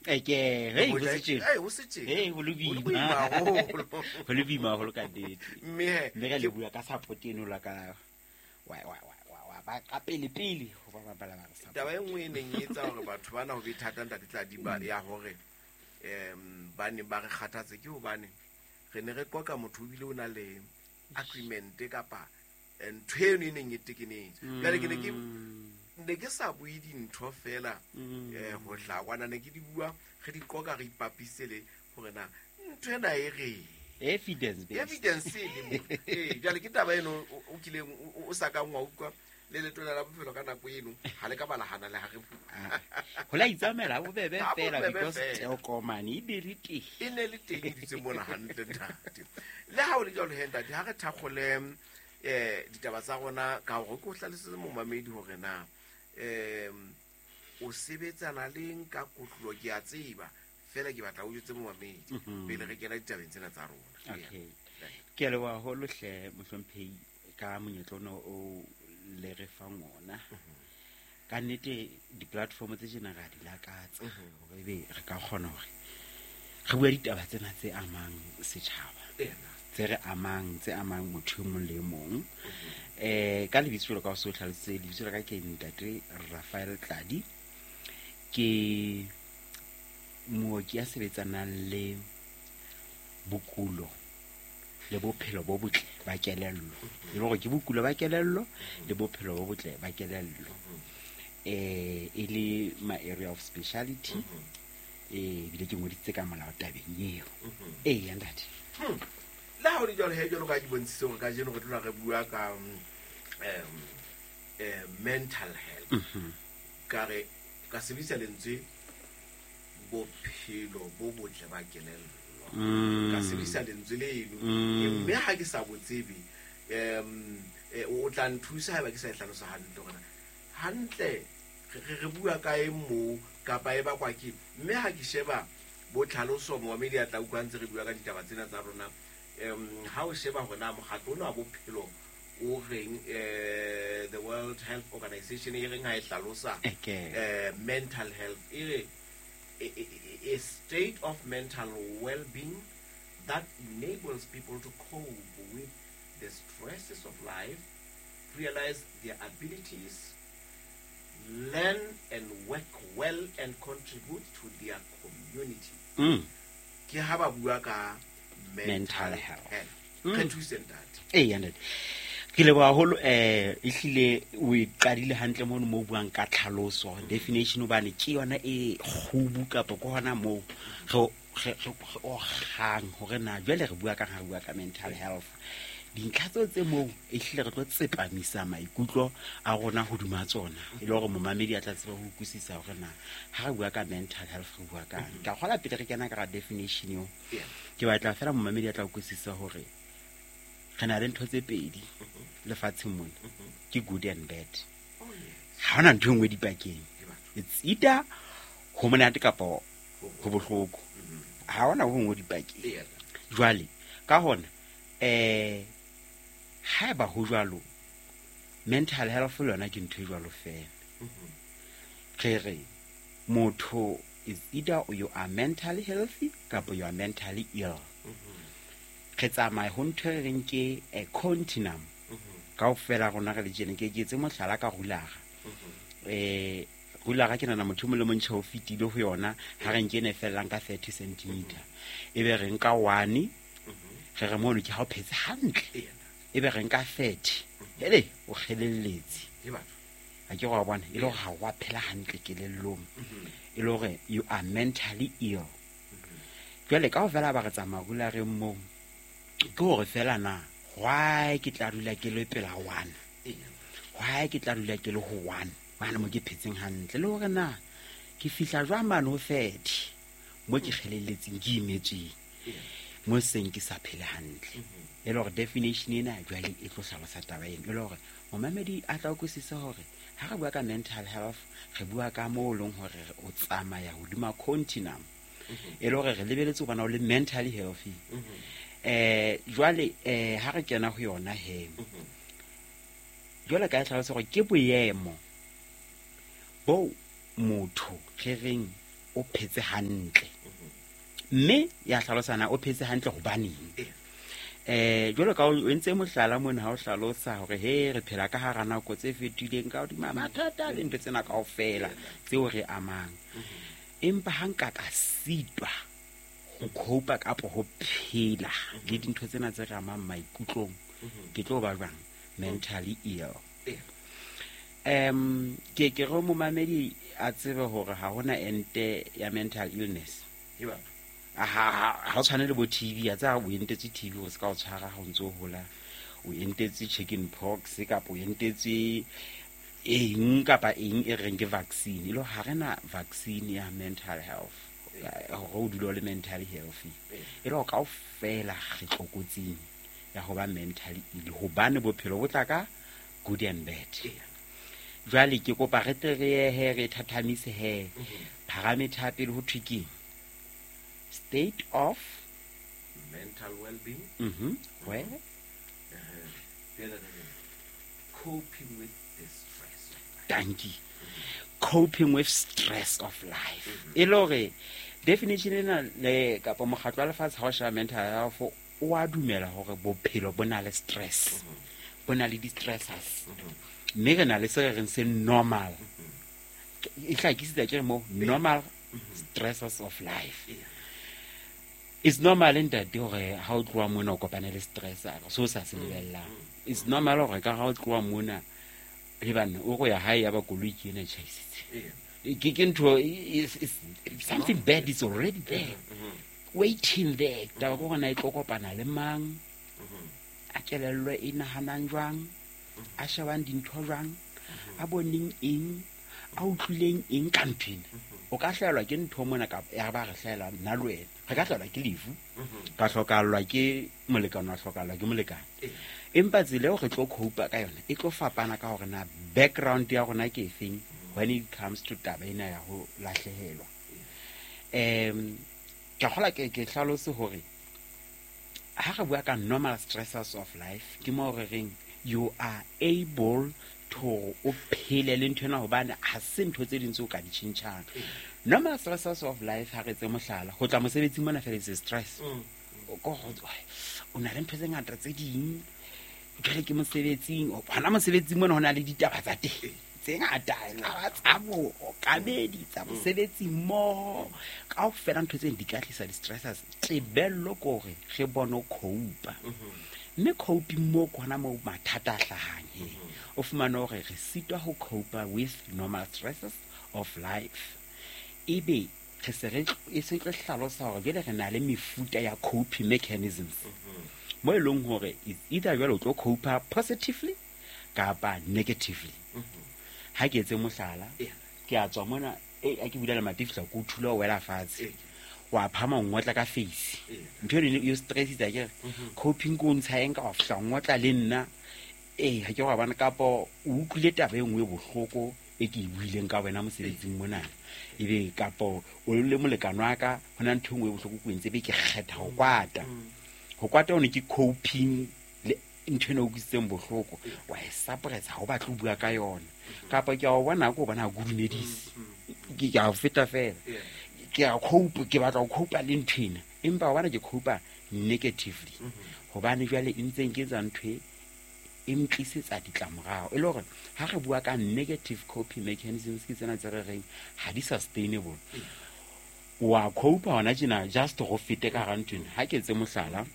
Eke, hey, ho se tjena. Hey, ho se tjena. Hey, ho le Ho le boima. boima haholo. Ho le boima haholo ka nnete. Mme he, Mme re ke- le bua ka support eno la ka wa wa wa wa- wa ba ka pele pele ho ba bapala ba re support. Taba e nngwe e neng e etsa hore batho bana ho be thata, ntate Tladiba, ya hore ba ne ba re kgathatse ke hobane re ne re qoqa motho o bile o na le agreement kapa ntho eno e neng e tekenetse. Jwale ke ne ke sa bue dintho fela ho hlakwana, ne ke di bua, re di qoqa, re ipapise le hore na ntho ena e reng. Evidence based. Evidence e le mo. Ee, jwale ke taba eno o kileng o sa kang wa utlwa le Letona la Bophelo ka nako eno ha le ka balahana le ha re bua. Ah, ho la itsamaela bobebe Ha fela bobebe because fela. tokomane e be le teng. E ne le teng, e dutse mona hantle, ntate. Le ha o le jwalo he, ntate, ha re thakgole ditaba tsa rona ka hore ke o hlalosetse momamedi hore na o sebetsana leng ka kotlolo. Ke a tseba fela, ke batla o jwetse momamedi pele re kena ditabeng tsena tsa rona. Okay, ke a leboha haholo hle, mohlomphehi, ka monyetla ona o le re fang ona. Ka nnete di-platform tse tjena re a di lakatsa hore ebe re ka kgona hore re bue ditaba tsena tse amang setjhaba, tse re amang, tse amang motho e mong le e mong. Ka lebitso jwalo ka o se o hlalositse, lebitso la ka ke ntate Rafael Tladi. Ke mooki ya sebetsanang le bokulo le bophelo bo botle ba kelello, e le hore ke bokulo ba kelello le bophelo bo botle ba kelello, e le my area of speciality. Ebile ke ngodisitse ka molao tabeng eo. Ee, ntate. Le ha o le jwalo he, jwalo ka ke bontshitse hore kajeno re tlola re bua ka mental health, ka re ka sebedisa lentswe bophelo bo botle ba kelello, ka sebedisa lentswe leno. Mme ha ke sa botsebe, o tla nthusa haeba ke sa e hlalosa hantle hore na hantle re bua ka eng moo kapa e bakwa ke. Mme ha ke sheba bo tlhaloso, momamedi a tla utlwa ntse re bua ka ditaba tsena tsa rona, ha o sheba hore na mokgatlo ona wa bophelo o reng, the World Health Organization e reng ha e hlalosa mental health, e re a state of mental well-being that enables people to cope with the stresses of life, realize their abilities, learn and work well and contribute to their community. Ke ha ba bua ka mental Mental health. health. Re thuse, ntate. Ee, ntate, ke leboha haholo. Ehlile o e qadile hantle mono mo o buang ka tlhaloso, definition, hobane ke yona e kgubu kapa ke hona moo re ogang hore na jwale re bua kang ha re bua ka mental health. Dintlha tseo tse moo ehlile re tlo tsepamisa maikutlo a rona hodima tsona, e le hore momamedi a tla tseba ho utlwisisa hore na ha re bua ka mental health re bua kang. Ka kgola pele re kena ka ra definition eo, ke batla fela momamedi a tla utlwisisa hore re na le ntho tse pedi lefatsheng mona, ke good and bad. Oh, yes. Ha hona ntho e nngwe dipakeng. Ke batho. It's either ho monate kapa ho bohloko, ha hona ho nngwe dipakeng. Jwale ka hona, haeba ho jwalo, mental health le yona ke ntho e jwalo fela. Re re motho is either you are mentally healthy kapa you are mentally ill. Re tsamaya ho ntho e re reng ke a continuum kaofela rona re le tjena. Ke etse mohlala ka rulara. Rulara ke nahana motho o mong le mong tjhe o fetile ho yona. Ha re nke ena e fellang ka 30 centimeter, e be re nka 1, re re mono ke ha o phetse hantle. E be re nka 30, hele, o kgelelletse. Ke batho. Ha ke wa bona e le hore ha wa phela hantle kelellong, e le hore you are mentally ill. Jwale kaofela ba re tsamaya rulareng moo, ke hore fela na why ke tla dula ke le pela 1, why ke tla dula ke le ho 1 mane mo ke phetseng hantle, le hore na ke fihla jwang mane ho 30 mo ke kgelelletseng, ke imetsweng, mo seng ke sa phele hantle. E le hore definition ena jwale e tlo hlalosa taba eno, e le hore momamedi a tla utlwisisa hore ha re bua ka mental health re bua ka moo e leng hore o tsamaya hodima continuum, e le hore re lebeletse ho bona o le mentally healthy. Jwale ha re kena ho yona he, jwale ka e hlalosa hore ke boemo bo motho re reng o phetse hantle. Mme ya hlalosana o phetse hantle hobaneng. Jwalo ka o entse mohlala mona ha o hlalosa hore he re phela ka hara nako tse fetileng ka hodima mathata le ntho tsena kaofela tseo re amang. Empa ha nka ka sitwa ho cope kapa ho phela le dintho tsena tse re amang maikutlong, ke tlo ba jwang mentally ill. Ke ke re momamedi a tsebe hore ha hona ente ya mental illness. Ha o tshwane le bo TB, a tsa o entetse TB o se ka o tshwara ha o ntso hola, o entetse chicken pox kapa o entetse eng kapa eng e reng ke vaccine. E le ha rena vaccine ya mental health hore o dule o le mentally healthy. E le kaofela re tlokotsing ya ho ba mentally ill hobane bophelo bo tla ka good and bad. Jwale ke kopa re tle re ye he re thathamise he parameter pele ho thwe keng? State of mental well-being. Where? Coping with the stress of life. Thank you. Coping with stress of life. E le hore definition ena le kapa mokgatlo wa lefatshe ha o sheba mental health o a dumela hore bophelo bo na le stress. Bo na le di-stressors. Mme re na le se re reng se normal. E hlakisitse ke re mo normal stressors of life. It's normal ntate hore ha o tloha mona o kopane le stress so sa se lebellang. It's normal hore ka ha o tloha mona le banna o go ya hae ya ba koloi ke ena tjhaisitse. Ke ntho something bad is already there. Waiting there. Taba ke hore na e tlo kopana le mang, a kelello e nahanang jwang, a shebang dintho jwang, a boneng eng, a utlwileng eng ka ntho ena. O ka hlahelwa ke ntho mona kapa ya ba re hlahela nna le wena. Re ka hlahelwa ke lefu, ka hlokahallwa ke molekane, wa hlokahallwa ke molekane. Empa tsela eo re tlo cope ka yona e tlo fapana ka hore na background ya rona ke efeng when it comes to taba ena ya ho lahlehelwa. Ke kgola ke hlalose hore ha re bua ka normal stressors of life ke mo re reng you are able to o phele le ntho ena hobane ha se ntho tse ding tseo ka di tjhentjhang. Normal stressors of life ha re tse mohlala ho tla mosebetsing mona fela it's stress. O na le ntho tse ngata tse ding jwale ke mosebetsing, hona mosebetsing mona ho na le ditaba tsa teng tse ngata, tsa bookamedi, tsa mosebetsi mmoho, kaofela ntho tseno di ka tlisa di-stressors. Tebello ke hore re bone ho cope. Mme coping moo ke hona moo mathata a hlahang he. O fumane hore re sitwa ho cope with normal stresses of life. Ebe re se re e se tlo hlalosa hore jwale re na le mefuta ya coping mechanisms. Mo e leng hore either jwale o tlo cope positively kapa negatively. Ha ke etse mohlala, ke a tswa mona, a ke bula lemati fihla ke o thula o wela fatshe. Wa phama o ngotla ka face. Ntho eno e o stressitse akere. Coping ke o ntsha eng ka wa fihla o ngotla le nna. Ha ke wa bona kapa o utlwile taba e nngwe e bohloko e ke e buileng ka wena mosebetsing mona. Ebe kapa o le molekane wa ka ho na ntho e nngwe e bohloko ke entse, ebe ke kgetha ho kwata. Ho kwata hone ke coping le ntho ena e utlwisitseng bohloko. Wa e suppressa, ha o batle ho bua ka yona. Kapa ke a o bona, ke o bona ha ke o dumedise. Ke a o feta fela. Ke a cope, ke batla ho cope le ntho ena. Empa wa bona ke cope negatively. Hobane jwale e ntse ke etsa ntho e ntlisetsa ditlamorao. E le hore ha re bua ka negative coping mechanisms ke tsena tse re reng ha di sustainable. Wa cope hona tjena just go fete ka hara ntho ena. Ha ke etse mohlala,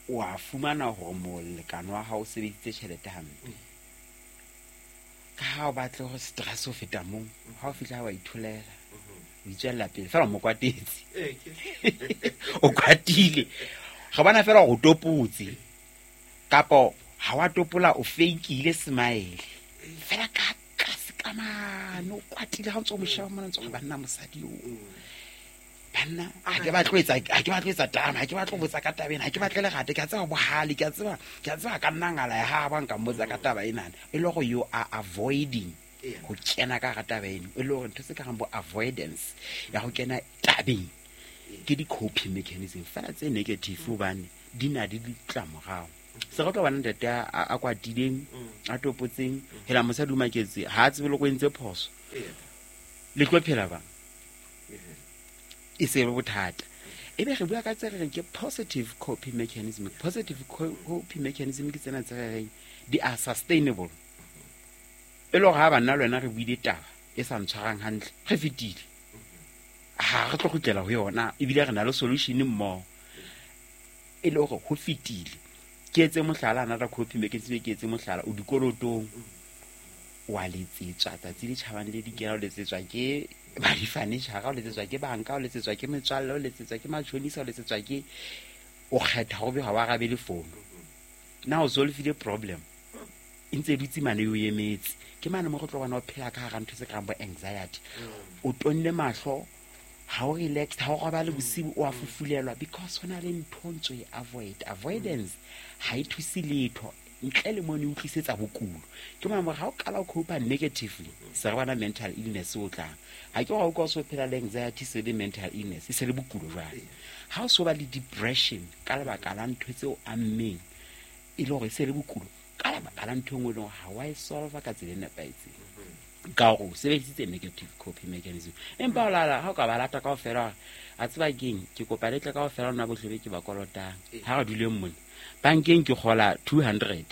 wa fumana hore molekane wa hao o sebedisitse tjhelete hampe. Ka ha o batle ho stress ho feta moo, ha o fihla wa itholela, o itswella pele fela o mo kwatetse. O kwatile. Re bona fela hore o topotse. Kapa ha wa topola o fakeile smile. Fela ka tlase ka mane o kwatile ha o ntso mo sheba mona ntso banna mosadi o. Banna ha ke batle ho etsa, ha ke batle ho etsa drama, ha ke batle ho botsa ka taba ena, ha ke batle lerata, ke a tseba bohale, ke a tseba ka nna ngala ya ha ba nka mmotsa ka taba ena. E le hore you are avoiding ho kena ka hara taba eno. E le hore ntho tse ka reng bo avoidance ya ho kena tabeng ke di-coping mechanism fela tse negative hobane di na le ditlamorao. Se re tlo bona ntate a kwatileng, a topotseng, hela mosadi o maketse, ha a tsebe le go entse phoso. Le tlo phela bang? E se be bothata. E be re bua ka tse re reng ke positive coping mechanism. Positive coping mechanism ke tsena tse re reng di are sustainable. E le gore ha banna le wena re buile taba e sa ntshwarang hantle, re fetile. Ha re tlo kgutlela ho yona, ebile re na le solution mmoho. E le gore ho fetile. Ke etse mohlala, another coping mechanism, ke etse mohlala, o dikolotong, wa letsetswa tsatsi le tjhabang le dikela, o letsetswa ke ba di-furniture, o letsetswa ke banka, o letsetswa ke metswalle, o letsetswa ke matjhonisa, o letsetswa ke, o kgetha ho be ha wa arabe le fono. Na o solvile problem? E ntse e dutse mane o emetse. Ke mane mo re tlo bona o phela ka hara ntho tse karang bo anxiety. O tonne mahlo, ha o relax, ha o robale bosiu, o a fufulelwa because ho na le ntho ntso e avoid. Avoidance ha e thuse letho ntle le mo ne utlwisetsa bokulo. Ke mona hore ha o qala o cope negatively, se re bona mental illness o tlang. Ha ke hore o ka o so phela le anxiety se le mental illness, e se le bokulo jwale. Ha o so ba le depression ka lebaka la ntho tseo ammeng, e le hore e se le bokulo ka lebaka la ntho e nngwe e leng hore ha wa e solve ka tsela e nepahetseng. Ka hore o sebedisitse negative coping mechanism. Empa o lala ha o ka ba lata kaofela hore a tseba keng, ke kopa le tle kaofela lona bohle be ke ba kolotang. Ha re duleng mona. Bankeng ke kgola 200.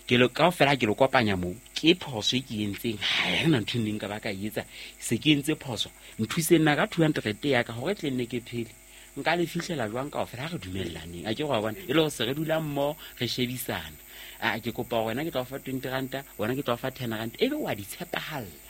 Ke lo kaofela ke lo kopanya moo, ke phoso e ke entseng, ha ena ntho e neng nka ba ka e etsa, se ke entse phoso. Nthuseng nna ka 200 ya ka hore tle nne ke phele. Nka le fihlela jwang kaofela ha re dumellaneng? A ke go bona e le hore se re dula mmoho, re shebisana. A ke kopa hore wena ke tla o fa 20 ranta, wena ke tla o fa 10 ranta, ebe wa di tshepahalla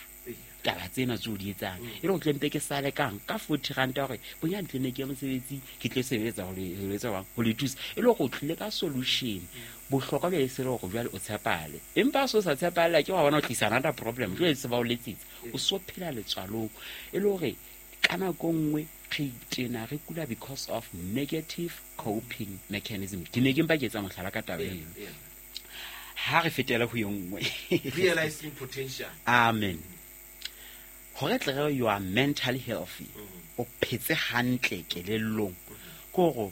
taba tsena tseo di etsang. E le hore tle mpe ke sale kang ka 40 ranta hore bonyane tle nne ke ye mosebetsing, ke tlo sebeletsa ho le etsa jwang, ho le thusa. E le hore o tlile ka solution. Bohlokwa jwale se le hore jwale o tshepahale. Empa ha so sa tshepahale, ke wa bona o tlisa another problem. Jwale se ba o letsetsa, o so phela letswalong. E le hore ka nako nngwe re tena re kula because of negative coping mechanism. Ke ne ke mpa ke etsa mohlala ka taba eno. Ha re fetela ho e nngwe. Realizing potential. Amen. Hore tle re you are mentally healthy, o phetse hantle kelellong, ke hore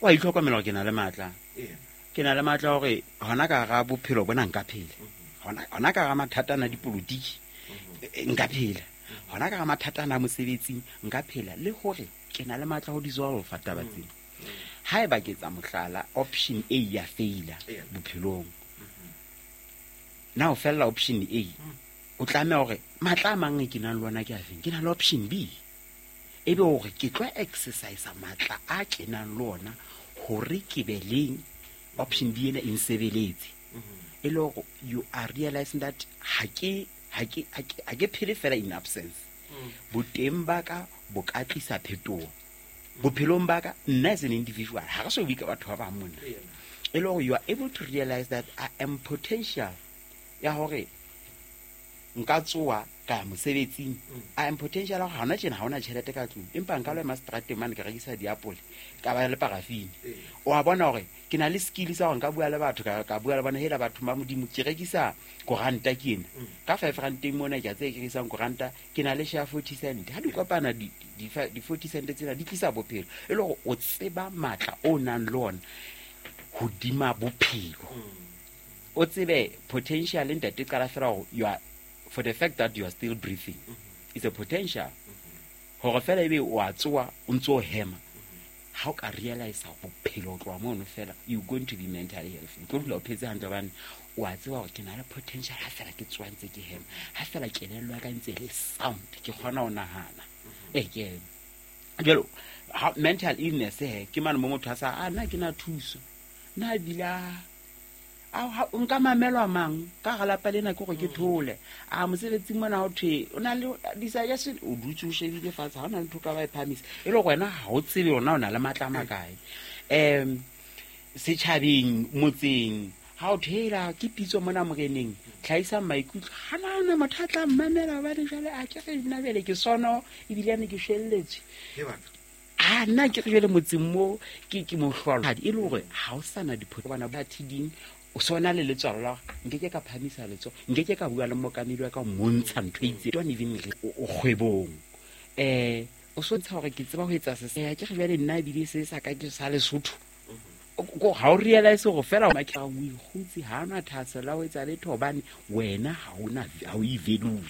wa itlhokomela hore ke na le matla. Ke na le matla hore hona ka hara bophelo bona nka phela. Hona ka hara mathata ana a dipolotiki, nka phela. Hona ka hara mathata ana a mosebetsing nka phela, le hore ke na le matla ho dissolve taba tsena. Haeba ke etsa mohlala, option A ya faila bophelong. Na o fella option A, o tlameha hore matla a mang e ke nang le ona ke a feng? Ke na le option B. Ebe hore ke tlo exercise matla a ke nang le ona hore ke be leng option B ena e nsebeletse. E le hore you are realizing that ha ke phele fela in absence. Boteng ba ka bo ka tlisa phetoho bophelong ba ka, nna as an individual, ha re so bue ka batho ba bang mona. E le hore you are able to realize that I am potential ya hore nka tsoha ka ya mosebetsing. I am potential ya hore ha hona tjena ha hona tjhelete ka tlung, empa nka lo ema seterateng mane ka rekisa diapole, ka ba le parafini. O a bona hore ke na le skill sa hore nka bua le batho, ka bua le bona, hela batho ba Modimo, ke rekisa koranta ke ena. Ka 5 rand mona ke a tseba ke rekisang koranta, ke na le share 40 cent. Ha di kopana di 40 cent tsena di tlisa bophelo. E le hore o tseba matla o nang le ona hodima bophelo. O tsebe potential ntate qala fela hore you are, for the fact that you are still breathing, it's a potential. Hore fela ebe o a tsoha o ntso hema, ha o ka realize bophelo o tloha mono fela, you going to be mentally healthy. O tlo dula o phetse hantle hobane o a tseba hore ke na le potential ha fela ke tsoha ntse ke hema, ha fela kelello ya ka ntse e le sound, ke kgona ho nahana. Ke jwalo, ha mental illness he, ke mane mo motho a sa, nna ke na thuso, nna ebile a, nka mamelwa mang ka hara lapa lena ke hore ke thole. A mosebetsing mona ho thwe o na le di-suggestion, o dutse o shebile fatshe, ha o na le ntho o ka ba e phahamisa. E le hore wena ha o tsebe hore na o na le matla a makae. Setjhabeng, motseng, ha o thwe, hela, ke pitso mona moreneng, tlhahisang maikutlo, ha na hona motho a tla mmamela hobane jwale a ke re nna jwale ke sono, ebile ane ke shwelletswe. He batho. A nna ke re jwale motseng mo ke mohlolohadi, e le hore ha o sa na diphoso bana ba thiding, o so na le letswalo la hore nke ke ka phamisa letsoho, nke ke ka bua le mookamedi wa ka ho montsha ntho e itseng. Don't even re o kgwebong. O so ntsha hore ke tseba ho etsa se. Ke re jwale nna ebile se sa ka ke sa Lesotho. Ga o realize gore fela o ikgutse, ga ona thahasello ya ho etsa letho, hobane wena ga o e value.